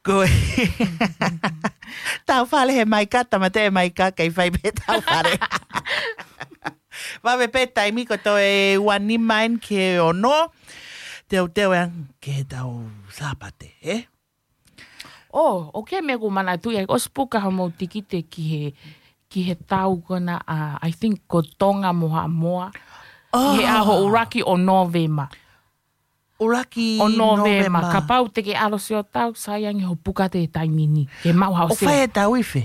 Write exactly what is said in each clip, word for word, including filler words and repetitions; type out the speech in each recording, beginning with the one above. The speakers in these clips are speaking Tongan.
Ko e tau fale he maika, tāmate e maika, kei fai pē tau fale. Vave pē taimi ko toe ua nima eni ki he ono. Teuteu ē ange ki he tau Sāpate, ē? ʻO, ʻoku ʻi ai e meʻa ʻoku ou manatuʻi ai, ʻosi puka hoʻomou tikite ki he, ki he tau ko ena, a, I think ko Tonga mo Haʻamoa. ʻI he ʻaho ʻuluaki ʻo Nōvema. ʻUluaki ʻo Nōvema. Nōvema. Kapau te ke ʻalu ʻo sio tau, sai ange hoʻo puka ʻi he taimi ni. Ke maʻu haʻo ʻOku fai e tau ife?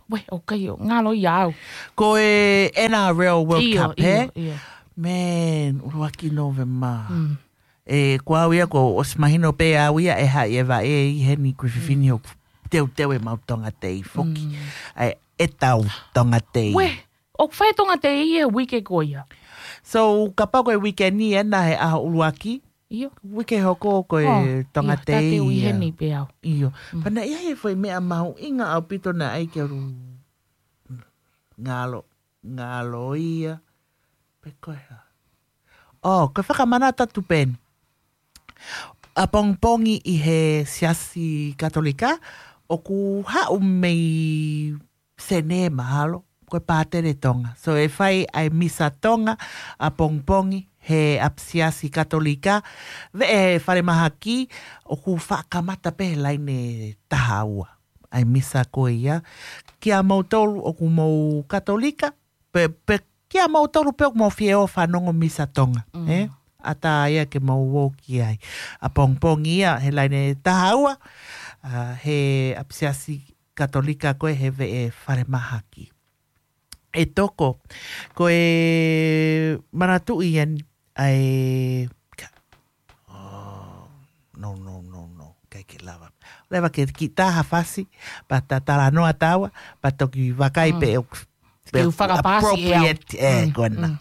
Uē, ʻoku ʻikai, ʻo ngalo ia au. Ko e N R L World Cup, ē? ʻIo, ʻio. Man, ʻuluaki Nōvema. Mm. ʻE, ko au ia, kuo ʻosi mahino pē au ia, ʻe haʻi e vaʻe ʻi heni, ko e fefine ʻoku teuteu e mau Tonga Tei foki. Mm. ʻAi, e tau Tonga Tei. Uē, ʻoku fai Tonga Tei ʻi he uike ko ia. So, kapau ko e uike ni ena he ʻaho ʻuluaki. ʻIo. Uike hoko ko e Tonga Tei ia. ʻIo, tā te u ʻi heni pē au. ʻIo. Mm. Pea naʻe ʻi ai e foʻi meʻa mahuʻinga ʻaupito naʻe ʻai ke u ngalo, ngalo ia. Pe ko e hā. ʻO, ko e fakamanatu atu pē eni. ʻApongipongi ʻi he Siasi Katolika, ʻoku haʻu mei Senē mahalo, ko e pātele Tonga. So ʻe fai ʻa e Misa Tonga, ʻapongipongi, he ʻapisiasi Katolika, veʻe falemahaki, ʻoku faʻa kamata pē he laine taha ua. ʻA e Misa ko ia, kia moutolu ʻoku mou Katolika, pe, pe kia moutolu pē ʻoku mou fie ō ʻo fanongo Misa Tonga, ē? ʻAtā ia ke mou ō ki ai. ʻApongipongi ia, he laine taha ua, a, he ʻapisiasi Katolika ko ē he veʻe falemahaki. ʻE toko, ko e manatuʻi eni ʻa e, ka-, oh, no, no, no, no, ʻikai ke lava. Leva ke kiʻi tā ha fasi, pea ta talanoa taua, pea toki vakai pē ʻoku, pē ʻoku fakapasi ʻe au. Appropriate, ē, ko ena.